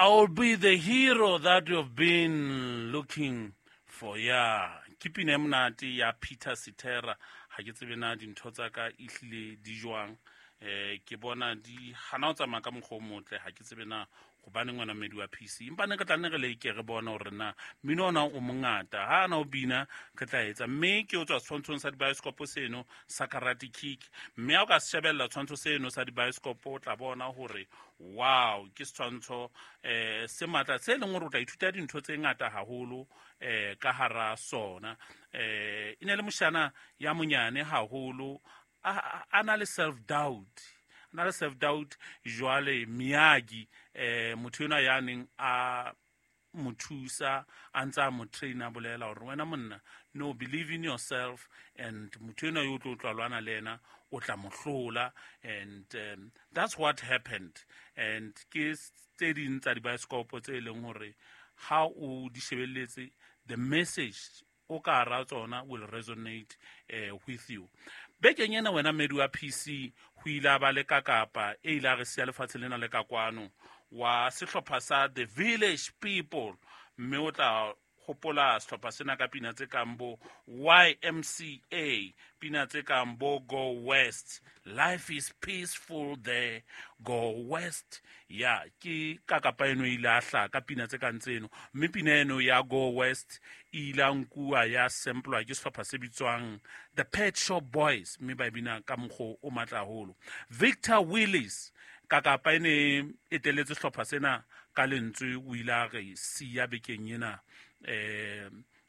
I will be the hero that you've been looking for. Ya ke pina e monate ya Peter Cetera. Ha ke tsebe na dintho tsa ka ehlile di jwang. Ke bona di hana ho tsamaya ka mokgwa o motle. Ha ke tsebe na gobaneng wena mmedi wa PC, empa ne re tla nne re leke re bone gore na mmino ona o mongata ha ana o bina re tla etsa. Mme ke o tswa setshwantshong sa dibaesekopo seno sa Karate Kick, mme ha o ka se shebella tshwantsho seno sa dibaesekopo, o tla bona gore wow, ke setshwantsho se matla se leng gore o tla ithuta dintho tse ngata haholo ka hara sona. E ne le moshana ya monyane haholo, a na le self doubt, na le self doubt. Jwale Miyagi, motho enwa ya neng a mo thusa, a ntse a mo train, a bolela gore wena monna, no, believe in yourself, and motho enwa yo o tlo tla lwana le ena o tla mo hlola. And that's what happened. And ke tse ding tsa dibaesekopo tse e leng gore ha o di shebelletse, the message o ka hara tsona will resonate with you. Bekeng ena, wena mmedi wa PC, ho ile a ba le kakapa e ile a re siya lefatshe lena le ka kwano, wa sehlopha sa The Village People. Mme o tla hopola sehlopha sena ka pina tse kang bo YMCA, pina tse kang bo Go West, Life is Peaceful There, Go West. Ya ke kakapa eno e ile a hlaha ka pina tse kang tseno, mme pina eno ya Go West e ile a nkuwa ya samplwa ke sehlopha se bitswang The Pet Shop Boys, mme ba e bina ka mokgwa o matla haholo. Victor Willis, kakapa e ne eteletse sehlopha sena ka lentswe, o ile a re siya bekeng ena.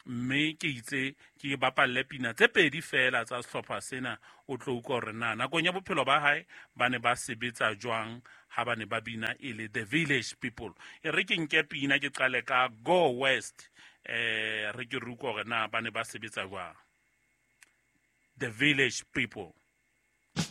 Mme ke itse ke bapalle pina tse pedi fela tsa sehlopha sena, o tlo utlwa hore na nakong ya bophelo ba hae ba ne ba sebetsa jwang ha ba ne ba bina e le The Village People. E re ke nke pina, ke qale ka Go West. Re ke re utlwa hore na ba ne ba sebetsa jwang, The Village People.